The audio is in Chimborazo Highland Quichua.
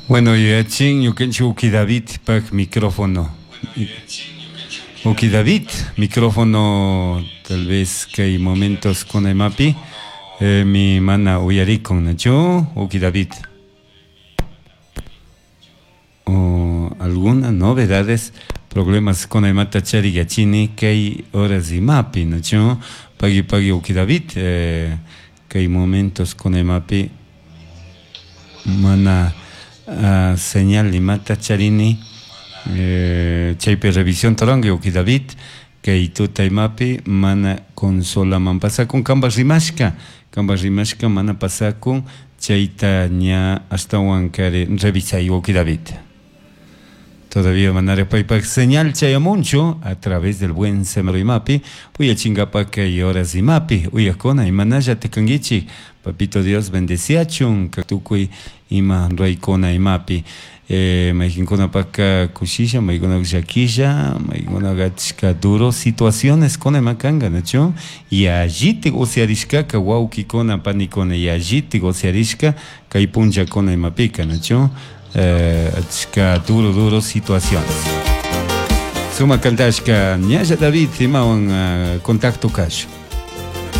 Bueno, yuyachin ñukanchik uki Davidpak micrófono. Uki David, micrófono tal vez kay momentos kunaymapi mi mana uyarikun, nachu? Uki David. O algunas novedades, problemas kunaymata charigachini kay horas imapi, nachu? Pagui pagui uki David, kay momentos kunaymapi mana señal imata charini, chaypi revisión tarangi uki David, kay tuta imapi mana consolaman pasakun kanpak rimashka, kanpak rimashka mana pasakun chayta ña ashtawan kari revisay uki David. Todavía manara paypak señal chayamunchu a través del buen semero imapi, uyachinkapak kay horas imapi, uyakuna imanalla tikankichik, papito Dios bendeciachun, tukuy ima ruraykuna imapi. Mayqinkunapaka kushisha, maykunaka llakisha, maykunaka achka duro situaciones kuna ima kanka, nachu? Yallitik usyarishkaka wawkikuna panikuna yallitik usyarishka kay punllakuna imapika, nachu? Achka duro duro situaciones. Sumak cantashka ñalla David imawan contacto kashu.